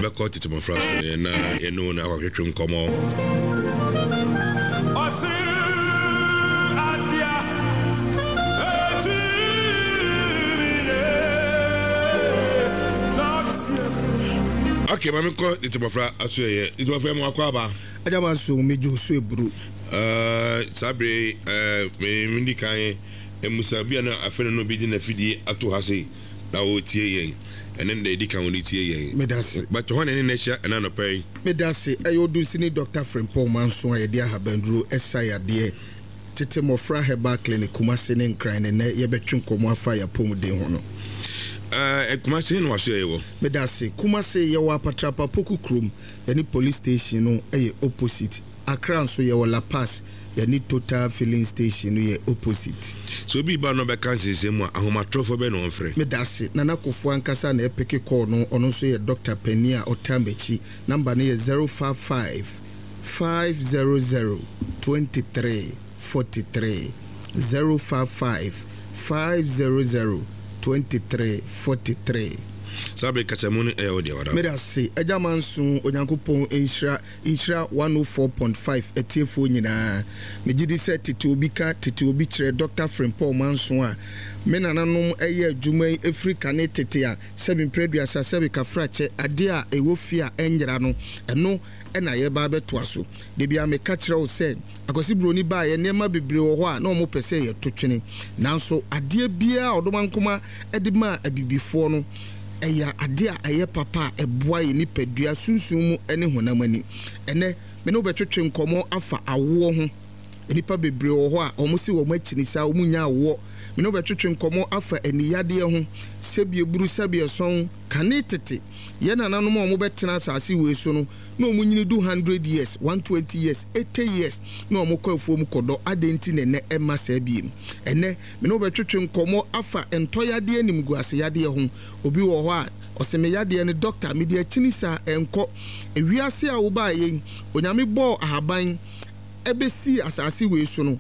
Yɛbɛkɔ tete mmɔfra so yɛn na yɛne wɔn akɔtwetwe nkɔmmɔ. Okay, maame kɔ tete mmɔfra aso yɛ. Tete mmɔfra mu akɔ aba. Agya ma so medwo so eburu. Saa bere yi, me di kan mmusa bi a na afei na obi de n'afidie ato ha sei na ɔretie yɛn. Ɛne no da edi kan ɔde tie yɛn. Meda ase. But hɔ na ɛne no ahyia ɛna anɔpa yi. Meda ase. Ɛyɛ Odunsini Dɔkta Frimpong Manso a yɛde ahabanduro sa yadeɛ, Tete Mmɔfra Herbal Clinic, Kumasi ne Nkran na ɛnnɛ yɛbɛtwe nkɔmmɔ afa yɛn apɔmuden ho no. Ɛɛ, Kumasi he na w'asoɛeɛ wɔ? Meda ase. Kumasi, yɛwɔ Apatrapa Poku kurom, yɛne Police Station no yɛ opposite. Accra nso, yɛwɔ La Paz, yɛne Total Filling Station no yɛ opposite. Sɛ obi reba na ɔbɛka nsensɛn mu a, ahomatorofo bɛn na ɔmfrɛ? Medase. Nana Kofoɔ ankasa na ɛpeke call no, ɔno nso yɛ doctor panin a ɔtaa m'akyi. Number no yɛ 055 500 23 43, 055 500 23 43. Saa bere yi kasamu no yɛ wo dea, Ɔdɔ. Medase. Agya Manso, Onyankopɔn nhyira. Nhyira 104.5 atiefoɔ nyinaa. Megye di sɛ tete obi ka, tete obi kyerɛ Dɔkta Frimpong Manso a me nananom yɛ adwuma yi firi kane tete a sɛbe mprɛduasa sɛbe kafrakyɛ adeɛ a ɛwɔ fie a ɛnyera no, ɛno na yɛreba abɛtoa so. Da biara meka kyerɛ wo sɛ Akwasi Broni baeɛ nneɛma bebree wɔ hɔ a na wɔpɛ sɛ yɛto twene nanso adeɛ biara a Ɔdomankoma de maa abibifoɔ no, Ɛyɛ ade a ɛyɛ papa a ɛboa yɛn nipadua, sunsum mu ne honam ani. Ɛnnɛ, me ne wo bɛtwetwe nkɔmmɔ afa awoɔ ho. Nnipa bebree wɔ hɔ a wɔse wɔn akyini saa, wɔnnya awoɔ. Me ne wo bɛtwetwe nkɔmmɔ afa aniyadeɛ ho, sɛbi eburu, sɛbi ɛsɔn. Kane tete, yɛn nananom a wɔbɛtena asase wei so no, na wɔnyini du hundred years, 120 years, 80 years, na wɔkɔ afuom kɔdɔ. Adɛn nti na ɛnnɛ ɛmma saa bio? Ɛnnɛ, Me ne wo bɛtwetwe nkɔmmɔ afa ntɔyadeɛ animguaseyadeɛ ho. Obi wɔ hɔ a, ɔse me yadeɛ no dɔkta mede akyini saa, ɛnkɔ. Ewiase a wobaeɛ yi, Onyame bɔɔ ahaban bɛsii asase wei so no,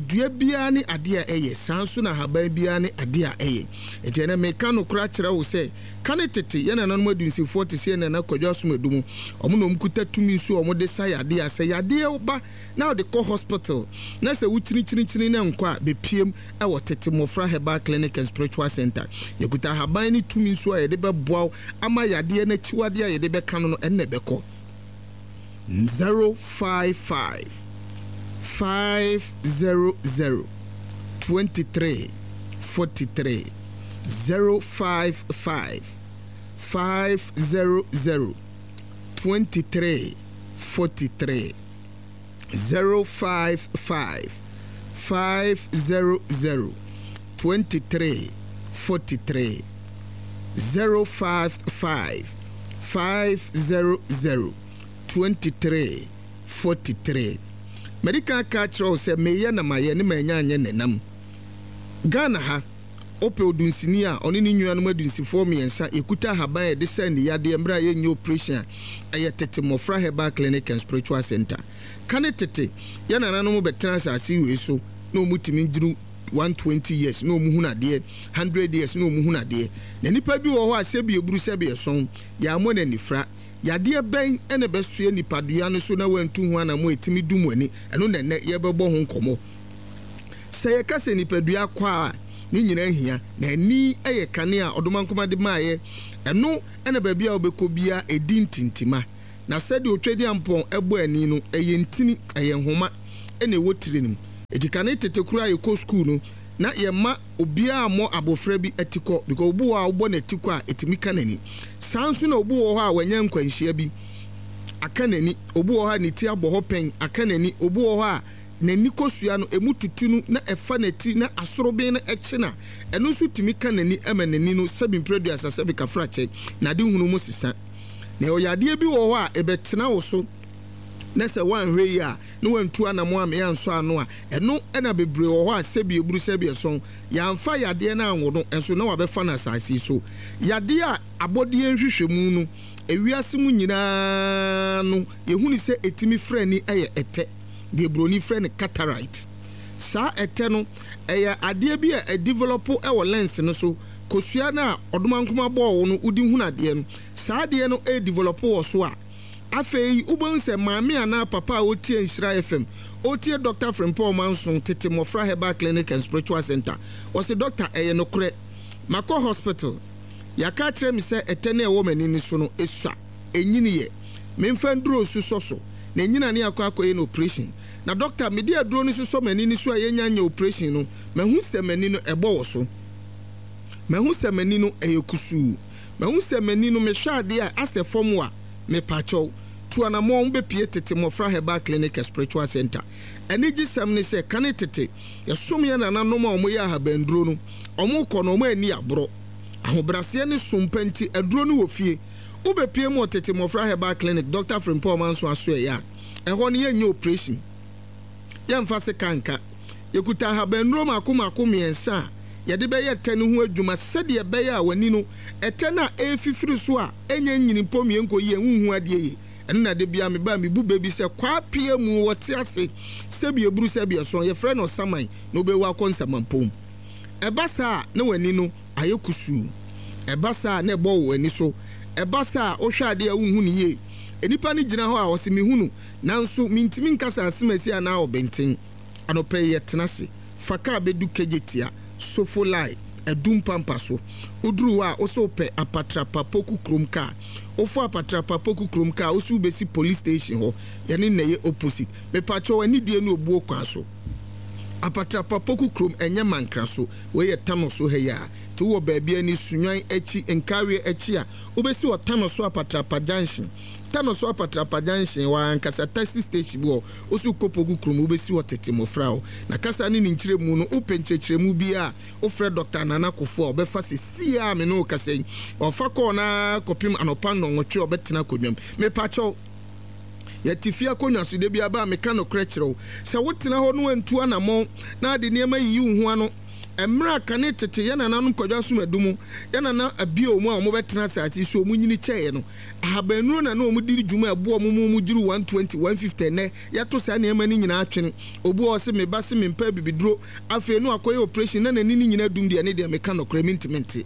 dua biara ne adeɛ a ɛyɛ, saa nso na ahaban biara ne adeɛ a ɛyɛ. Enti ɛnnɛ meka nokorɛ akyerɛ wo sɛ, kane tete, yɛn nananom adunsifoɔ te sɛ yɛn nana Kwadwo Asomadu mo, wɔn na wɔkuta tumi nso a wɔde sa yadeɛ a sɛ yadeɛ ba na wode kɔ hospital na sɛ wokyinikyinikyini na ɛnkɔ a, bɛpiem wɔ Tete Mmɔfra Herbal Clinic and Spiritual Center. Yɛkuta ahaban ne tumi nso a yɛde bɛboa wo ama yadeɛ no akyiwadeɛ a yɛde bɛka no no, ɛno na ɛbɛkɔ. 055 500 23 43 055 500 23 43. 055 500 23 43 055 500 23 43 Madi kan aka akyerɛ wo sɛ meyɛ na mayɛ ne manya anyɛ nenam. Ghana ha, wopɛ odunsini a ɔne ne nuanom adunsifoɔ mmiɛnsa yɛkuta ahaban a yɛde sa aniyadeɛ mmerɛ a yɛnyɛ operation a, ɛyɛ Tete Mmɔfra Herbal Clinic and Spiritual Centre. Kane tete, yɛn nananom bɛtena asase wei so na wɔn tumi duru 120 years na wɔn hunu adeɛ, 100 years na wɔn hunu adeɛ. Na nipa bi wɔ hɔ a sɛbi eburu sɛbi ɛsɔn, yɛammɔ no anifra. Yadeɛ bɛn na ɛbɛsoɛ nipadua no so na wantu ho anamɔ a ɛtumi dum w'ani? Ɛno na ɛnnɛ yɛbɛbɔ ho nkɔmmɔ. Sɛ yɛka sɛ nipadua akwaa a, ne nyinaa hia, na ani yɛ kanea a Ɔdomankoma de maeɛ. Ɛno na baabi a wobɛkɔ biara ɛdi ntintima. Na sɛdeɛ Otwedeampɔn bɔ ani no, ɛyɛ ntini, ɛyɛ nhoma na ɛwɔ tire no mu. Enti kane tete koraa a yɛkɔ sukuu no, na yɛmma obiara mmɔ abɔfra bi atikɔ because obi wɔ hɔ a wobɔ no atikɔ a, ɛtumi ka n'ani. Saa nso na obi wɔ hɔ a wanya nkwanhyia bi, aka n'ani. Obi wɔ hɔ a ne ti abɔ hɔ pɛn, aka n'ani. Obi wɔ hɔ a n'ani kosua no, emu tutu no na ɛfa n'ati na asoroben no kye no a, ɛno nso tumi ka n'ani ma n'ani no sɛbi mprɛduasa sɛbi kafrakyɛ, n'adehunu mu sesa. Na ɛwɔ yadeɛ bi wɔ hɔ a ɛbɛtena wo so na sɛ woanhwɛ yie a na woantu anamɔ ammee ansɔ ano a, ɛno na bebree wɔ hɔ a sɛbi eburu sɛbi ɛsɔn, yɛamfa yadeɛ no anwo no nso na wabɛfa no asase yi so. Yadeɛ a abɔdeɛ nhwehwɛmu no, ewiase mu nyinaa no yɛhunu sɛ ɛtumi frɛ ani yɛ ɛtɛ. deɛ buroni frɛ no cataract. Saa ɛtɛ no, ɛyɛ adeɛ bi a ɛdevelɔpo wɔ lens no so. Kosua no a ɔdomankoma bɔɔ wo no wode hunu adeɛ no, saa adeɛ no redevelop wɔ so a, afei wobɛhu sɛ maame anaa papa a ɔtie Nhyira FM, ɔtie Dɔkta Frimpong Manson, Tete Mmɔfra Herbal Clinic and Spiritual Centre, ɔse dɔkta ɛyɛ nokorɛ, makɔ hospital, yɛaka akyerɛ me sɛ ɛtɛ no a ɛwɔ m'ani no so no sua, ɛnyiniiɛ, memfa nduro nsosɔ so na ɛnyina ne akɔ akɔyɛ no operation. Na dɔkta, mede aduro no sosɔ m'ani no so a yɛnnya nyɛ operation no, mahu sɛ m'ani no ɛbɔ wɔ so. Mahu sɛ m'ani no ɛyɛ kusuu. Mahu sɛ m'ani no mehwɛ adeɛ a asɛ fam a, mepakyɛw, tu anamɔn bɛpue Tete Mmɔfra Herbal Clinic and Spiritual Centre. Anigyesɛm ne sɛ, kane tete, yɛsom yɛn nananom a wɔyɛ ahabanduro no, wɔkɔ no, wɔn anni aborɔ. Ahobraseɛ ne som pa nti, aduro no wɔ fie. Wobɛpue mu wɔ Tete Mmɔfra Herbal Clinic, Dɔkta Frimpong Manso Asoɛeɛ a, ɛhɔ no yɛnyɛ oprehyɛn. Yɛmfa sekan nka. Yɛkuta ahabannuro mmaako mmaako mmiɛnsa a yɛde bɛyɛ tɛ no ho adwuma sɛdeɛ ɛbɛyɛ a w'ani no, ɛtɛ no a ɛrefifiri so a ɛnyɛ nyini mpo mmie nkɔ yie, wonhu adeɛ yie. Ɛno na da biara meba a mebu bɛ bi sɛ, Kwaa mu wɔte ase, sɛbi ɛburu sɛbi ɛsɔn, yɛfrɛ no ɔsaman na wobɛwu akɔ nsamampɔn mu. Ɛba saa a na w'ani no ayɛ kusuu. Ɛba saa a na ɛbɔ wo ani so. Ɛba saa a wohwɛ adeɛ a wonhu no yie. Nnipa no gyina hɔ a ɔse mehu no nanso mentumi nka sɛ asemasi anaa ɔbenten. Anɔpa yi yɛtena ase fa kaa bɛdu Kejetia, Sofo Lai, Adum Pampa so. Woduru hɔ a wose wopɛ Apatrapa Poku kurom kaa. Wofo Apatrapa Poku kurom kaa a wose wobɛsi police station hɔ. Yɛne no na ɛyɛ opposite. Mepakyɛw anidie ne obuo kwan so. Apatrapa Poku kurom ɛnyɛ Mankra so. Wei yɛ Tano so ha yi a. Nti wowɔ baabi ani, Sunyani akyi, Nkawie akyi a, Wobɛsi wɔ Tanoso Apatrapa Junction. Tanoso Apatrapa Junction, hɔ ara ankasa, taxi station bi wɔ hɔ. Wo nso wokɔ Poku kurom, wobɛsi hɔ tete mmɔfra hɔ. Na kasa ne ne nkyerɛmu no, wopɛ nkyerɛkyerɛmu biara a, wofrɛ Dɔkta Nana Kufuor a, ɔbɛfa seesei ara a me ne wo rekasa yi. Ɔfa kɔɔ no ara kɔpem anɔpa nnɔnwɔtwe a ɔbɛtena akonnwa mu. Mepakyɛw, yɛte fie akonnwa so, da biara ba a meka nokorɛ kyerɛ wo. Sɛ wotena hɔ na woantu anammɔn na ade nneɛma yiyi wo ho ano, Mmerɛ a kane tete yɛn nananom Kwadwo Asomadu mu, yɛn nana Abio mu a wɔbɛtena asase yi so, wɔnyini kyɛeɛ no, ahabannuro na na wɔde di dwuma a ɛboa wɔn ma wɔduru 120, 150. Ɛnnɛ, yɛato saa nneɛma no nyinaa atwene. Obi wɔ hɔ ɔse, me ba se mempɛ abibiduro, afei na wakɔyɛ operation na n'ani no nyinaa dum deɛ, ɛno deɛ meka nokorɛ, mentumi nte.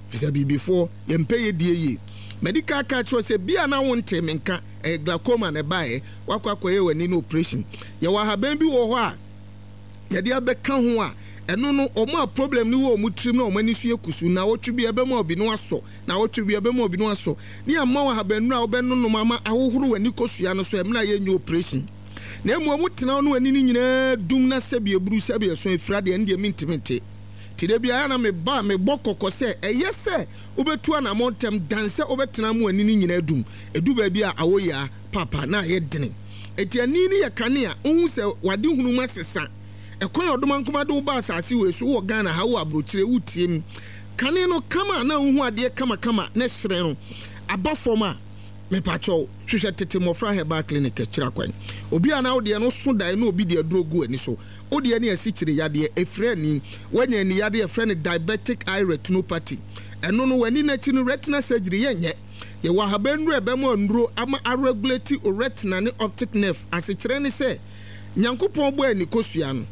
Ɛfiri sɛ abibifoɔ, yɛmpɛ yɛdie yie. Madi kan aka akyerɛ wo sɛ, bi a na wontee me nka, ɛyɛ glaucoma na ɛbaeɛ, woakɔ akɔyɛ w'ani no operation. Yɛwɔ ahaban bi wɔ hɔ a, yɛde abɛka ho a, ɛno no wɔn a problem no wɔ wɔn tirim na wɔn ani so yɛ kusuu, nnawɔtwe bi ɛbɛma obi no asɔ, nnawɔtwe bi ɛbɛma obi no asɔ, ne yɛama wo ahabannuro a wobɛnonom ama ahohoro w'ani kosua no so ɛmmerɛ a yɛnyɛ operation. Na mmom wotena hɔ na w'ani no nyinaa dum na sɛbi eburu sɛbi ɛso efira deɛ ɛno deɛ mentumi nte. Nti da biara na meba a mebɔ kɔkɔ sɛ ɛyɛ sɛ wobɛtu anamɔn ntɛm dan sɛ wobɛtena ama w'ani no nyinaa adum. Ɛdu baabi a awɔ yia paapa na ayɛ dene. Enti ani no yɛ kanea, wohu sɛ w'adehunu mu asesa. Ɛkwan a Ɔdomankoma de wo baa asase wei so, wowɔ Ghana ha, wowɔ abrokyire, wotie me. Kane no kama a na wohu adeɛ kamakama na ɛhyerɛn no aba fam a, mepakyɛw, hwehwɛ Tete Mmɔfra Herbal Clinic akyiri akwan. Obi a na wo deɛ no so dae na obi de aduro gu w'ani so. Wo deɛ ne asikyire yadeɛ, ɛfiri ani. Woanya ani yadeɛ a yɛfrɛ no diabetic eye retinopathy. Ɛno no, w'ani no akyi no, retina surgery yɛnyɛ. Yɛwɔ ahaban nnuro a ɛbɛma nnuro ama aregulate wo retina ne optic nerve. Asekyerɛ ne sɛ, Nyankopɔn bɔɔ ani kosua no,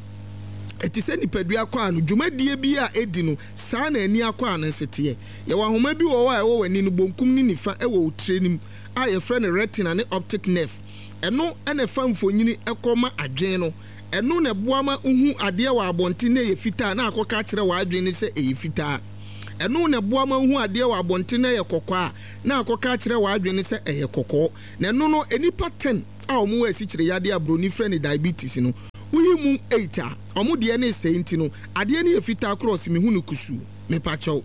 ɛte sɛ nipadua akwaa no, dwumadie biara a ɛdi no, saa na ani akwaa no nso teɛ. Yɛwɔ ahoma bi wɔ hɔ a ɛwɔ w'ani no bonkum ne nifa wɔ wo tire no mu a yɛfrɛ no retina ne optic nerve. Ɛno na ɛfa mfonini kɔ ma adwene no. Ɛno na ɛboa ma wohu adeɛ wɔ abɔnten na ɛyɛ fitaa na akɔka akyerɛ w'adwene no sɛ ɛyɛ fitaa. Ɛno na ɛboa ma wohu adeɛ wɔ abɔnten na ɛyɛ kɔkɔɔ a, na akɔka akyerɛ w'adwene no sɛ ɛyɛ kɔkɔɔ. Na ɛno no, nnipa ten a wɔwɔ asikyire yadeɛ a buroni frɛ no diabetes no, woyi mu eight a, wɔn deɛ no resɛe nti no, adeɛ no yɛ fitaa korɔ ɔse mehu no kusuu. Mepakyɛw.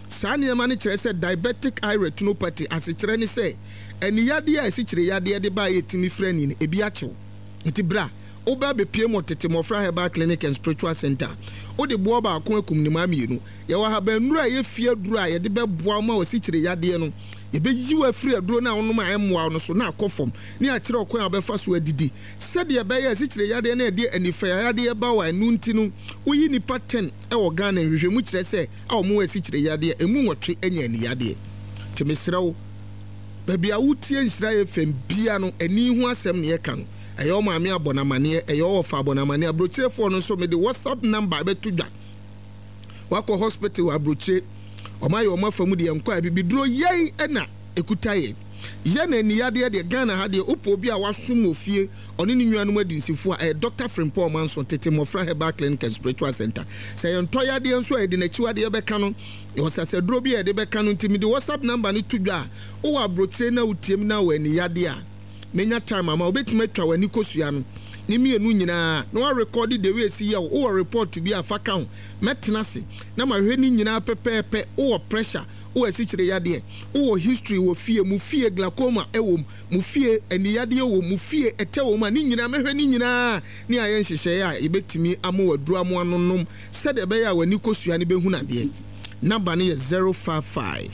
Saa nneɛma no kyerɛ sɛ diabetic eye retinopathy asekyerɛ ne sɛ ani yadeɛ a asikyire yadeɛ de ba a yɛtumi frɛ ani no, ebi akye wo. Nti bra. Woba abɛpue mu wɔ Tete Mmɔfra Herbal Clinic and Spiritual Centre a, wode boɔ baako akum nnomaa mmienu. Yɛwɔ ahabannuro a ɛyɛ fie aduro a yɛde bɛboa wo ma w'asikyire yadeɛ no, yɛbɛyi wo afiri aduro no a wonom a ɛmmoa wo no so na akɔ fam, ne akyerɛ wo kwan a wobɛfa so adidi sɛdeɛ ɛbɛyɛ a asikyire yadeɛ no a ɛde anifira yadeɛ ba wo a ɛno nti no woyi nnipa 10 wɔ Ghana nhwehwɛmu kyerɛ sɛ a wɔwɔ asikyire yadeɛ ɛmu nwɔtwe anya aniyadeɛ. Nti mesrɛ wo, baabi a wotie Nhyira FM bia no ani ho asɛm na yɛka no. Ɛyɛ wo maame abɔ no amaneɛ, ɛyɛ wo wɔfa abɔ no amaneɛ. Aburokyerefoɔ no nso, mede WhatsApp number bɛto dwa. Wakɔ hospital wɔ aburokyire, wɔn ayɛ wɔn afa mu deɛ nkɔ a bibiduro yɛn ɛna ekuta yɛn. Yɛ na aniyadeɛ deɛ, Ghana ha deɛ, wopɛ obi a wasom wɔ fie, ɔne ne nuanom adunsifo a, ɛyɛ Dr. Frimpong Manso, Tete Mmɔfra Herbal Clinic and Spiritual Center. Sɛ yɛn ntɔ yadeɛ nso a, yɛde n'akyiwadeɛ bɛka no. Yɛwɔ sasaduro bi a yɛde bɛka no. Nti mede WhatsApp number no to dwa a, wowɔ aburokyire na wotiem na wɔ aniyadeɛ a, menya time ama wobɛtumi atwa w'ani kosua no ne mmienu nyinaa na warekɔde the way esi yɛ wo. Wowɔ report bi a, fa ka ho. Mɛtena ase na mahwɛ ne nyinaa pɛpɛɛpɛ. Wowɔ pressure, wowɔ asikyire yadeɛ, wowɔ history wɔ fie mu, fie glaucoma ɛwɔ mu, mu fie aniyadeɛ wɔ mu, fie ɛtɛ wɔ mu a, ne nyinaa mɛhwɛ ne nyinaa ne ayɛ nhyehyɛeɛ a yɛbɛtumi ama waduru amo anonom sɛdeɛ ɛbɛyɛ a w'ani kosua no bɛhunu adeɛ. Number no yɛ 055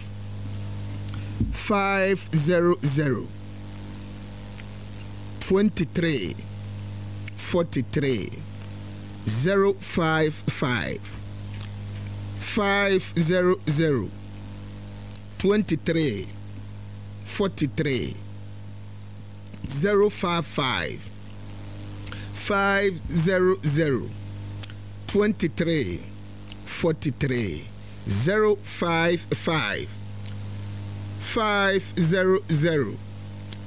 500 23 43, 055 500 23 43, 055 500 23 43, 055 500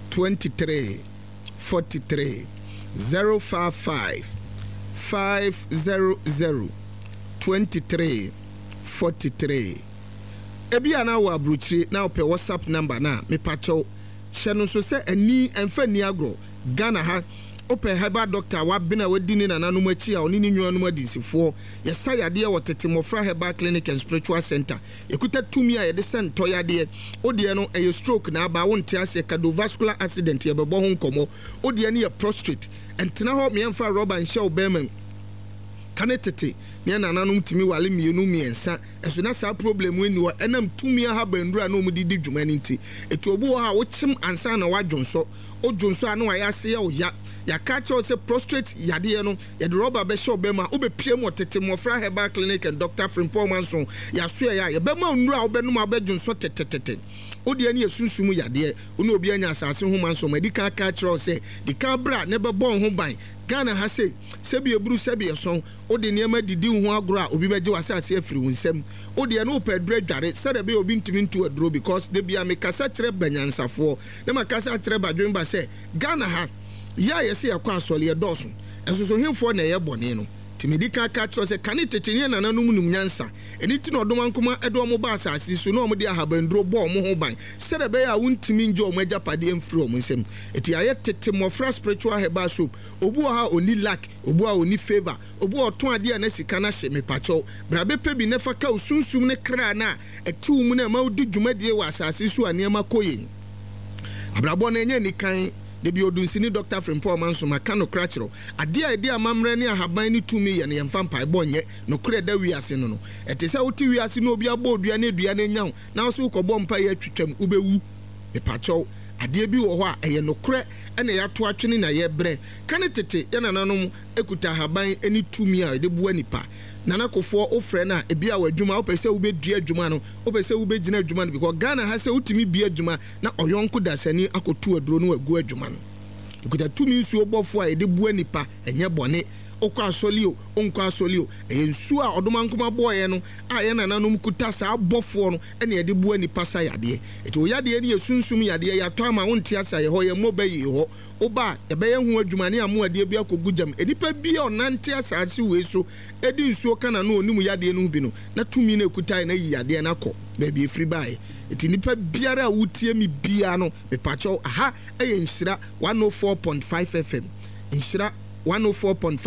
23 43, 055 500 23 43. Ebi a na wɔ aburokyire na wopɛ WhatsApp number na mepakyɛw, hyɛ no nso sɛ ani ɛmfa ni agorɔ. Ghana ha, wopɛ herbal doctor a wabene, a wadi ne nananom akyi, a ɔne ne nuanom adinsifoɔ yɛsa yadeɛ wɔ Tete Mmɔfra Herbal Clinic and Spiritual Center. Yɛkuta tumi a yɛde sɛ ntɔ yadeɛ. Wodeɛ no ɛyɛ stroke na aba, wonte aseɛ, cardiovascular accident, yɛbɛbɔ ho nkɔmmɔ. Wodeɛ no yɛ prostate, ɛntena hɔ meɛmfa rɔba nhyɛ wo bɛrima mu. Ka ne tete ne nananom tumi wale mmienu mmiɛnsa, ɛso na saa problem nni hɔ, ɛnam tumi ahabanduru a na wɔde di dwuma no nti. Ɛti obi wɔ hɔ a wokyem ansa na wadwonsɔ, wodwonsɔ a na wayɛ ase yɛ wo ya. Yɛaka kyerɛ wo sɛ prostate yadeɛ no, yɛde rɔba bɛhyɛ wo bɛrima a wobɛpie mu wɔ Tete Mmɔfra Herbal Clinic and Dr. Frimpong Manso yɛasoɛeɛ a, yɛbɛma wo nnuro a wobɛnom a wobɛdwonsɔ tɛtɛtɛtɛ. Wodeɛ no yɛ sunsum yadeɛ, wo ne obi anya asase ho manso, madi kan aka akyerɛ wo sɛ di kan bra na ɛbɛbɔ wo ho ban. Ghana ha sei, sɛbi eburu sɛbi ɛsɔn, wode nneɛma didi wo ho agorɔ a, obi bɛgye w'asase afiri wo nsam. Wodeɛ no wopɛ aduro adware sɛdeɛ ɛbɛyɛ obi ntumi nto aduro, because da bia mekasa kyerɛ banyansafoɔ na makasa akyerɛ badwemba sɛ Ghana ha yɛ a yɛsɛ yɛkɔ asɔre yɛdɔɔso, ɛnso so hemfoɔ na ɛyɛ bɔne no. Nti medi kan ka kyerɛ sɛ kane tete ne nananom nim nyansa. Ɛno nti na ɔdomankoma de wɔn baa asase so na wɔde ahabanduro bɔɔ wɔn ho ban sɛdeɛ ɛbɛyɛ a wontumi ngye wɔn agyapadeɛ mfiri wɔn nsam. Nti yɛayɛ Tete Mmɔfra Spiritual Herbal Soap. Obi wɔ hɔ a ɔnni luck, obi wɔ hɔ a ɔnni favour, obi wɔ hɔ ɔtɔn adeɛ a na sika no ahye. Mepakyɛw, bra bɛpɛ bi na fa ka wo sunsum ne kra no a ɛte wo mu no a ɛma wodi dwumadie wɔ asase so a nneɛma kɔ yie. Abrabɔ no ɛnyɛ anikan. Da bi Odunsini Dɔkta Frimpong Amanso maka nokorɛ akyerɛ wo. Adeɛ a ɛde amammerɛ ne ahaban ne tumi yɛ no, yɛmfa mpaebɔ nyɛ. Nokorɛ a ɛda wiase no no, ɛte sɛ wote wiase na obi abɔ odua na dua no anya wo na wo nso wokɔbɔ mpaeɛ atwitwam, wobɛwu. Mepakyɛw, adeɛ bi wɔ hɔ a ɛyɛ nokorɛ na yɛato atwene na yɛbrɛ. Kane tete yɛn nananom kuta ahaban ne tumi a yɛde boa nipa. Nana Kofoɔ, wofrɛ no a, ebia wɔ adwuma, wopɛ sɛ wobɛdua adwuma no, wopɛ sɛ wobɛgyina adwuma no, because Ghana ha sɛ wotumi bue adwuma na ɔyɔnko dasani akɔtu aduro na wagu adwuma no. Ɛkuta tumi nsuo bɔfoɔ a yɛde boa nipa, ɛnyɛ bɔne. Wokɔ asɔre o, wonkɔ asɔre o, ɛyɛ nsuo a Ɔdomankoma bɔeɛ no a yɛn nananom kuta saa bɔfoɔ no na yɛde boa nipa sa yadeɛ. Nti wo yadeɛ no yɛ sunsum yadeɛ, yɛatɔ ama wonte ase a, yɛhɔ yɛmmɔ bɛ yie hɔ. Woba a, yɛbɛyɛ ho adwuma ne amoa adeɛ bi akɔgu gyam. Nnipa bi a ɔnante asaase wei so de nsuo ka n'ano a ɔnim yadeɛ no ho bi no, na tumi no a ɛkutaeɛ no ayi yadeɛ no akɔ baabi a ɛfiri baeɛ. Nti nnipa biara a wotie me biara no, mepakyɛw, aha yɛ Nhyira 104.5 FM. Nhyira 104.5.